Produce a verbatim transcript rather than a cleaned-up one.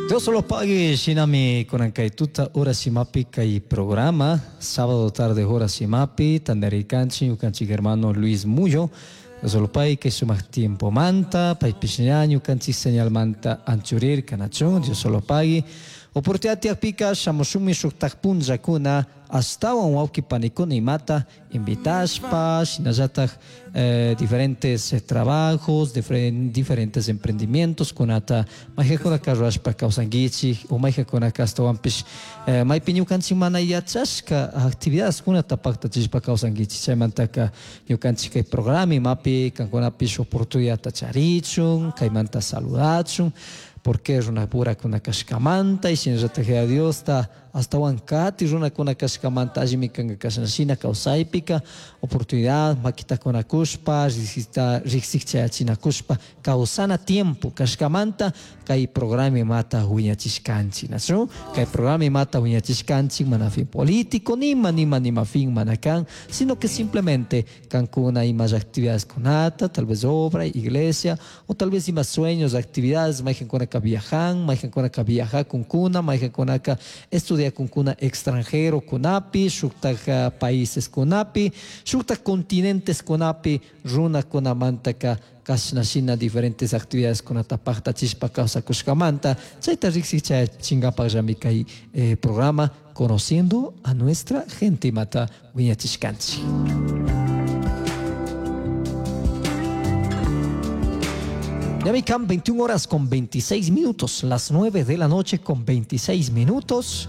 Dios lo pague, shinami kunan tuta horas imapi kay programa, sábado tarde horas imapi, tantarikanchik ñukanchik hermano Luis Muyo. Dios lo pague que sumak tiempo manta, paypish ña ñukanchik señal manta anchurirka, nachu, Dios lo pague. Oportunidad tiyakpika shamushunmi shuktak punllakuna ashtawan wawqi panikuna imata invitashpa, shinallatak eh, diferentes eh, trabajos, diferen, diferentes emprendimientos kunata mayqankunaka rurashpa kawsankichik o mayqankunaka ashtawanpish eh, maypi ñukanchik mana yachashka actividades kunata paktachishpa kawsankichik. Chaymantaka ñukanchik kay programa imapi kankunapish oportunidadta charichun, kaymanta saludachun, porque runapura kashkamanta y shinallatak Yaya Diosta ashtawan kati runakuna kashkamanta allimi kanka kashna kawsaypika oportunidad makita kunakushpa riksik chayachinakushpa kawsana tiempo kashkamanta kay programa imata wiñachishkanchik, nachu? Kay programa imata wiñachishkanchik mana fin político nima nima nima fin mana kan, sino que simplemente kankuna imas actividades kunata, tal vez obra, iglesia, o tal vez ima sueños, actividades, mayqankunaka viajan, mayqankunaka viajakunkuna, mayqankunaka estudia kunkuna extranjero kunapi, shuktak países kunapi, shuktak continentes kunapi, runakunamantaka kashna shina diferentes actividades kunata paktachishpa kawsakushkamanta, chayta riksik chayachinkapak kay eh, programa Conociendo a Nuestra Gente imata wiñachishkanchik. Ya me veintiuna horas con veintiséis minutos, las nueve de la noche con veintiséis minutos.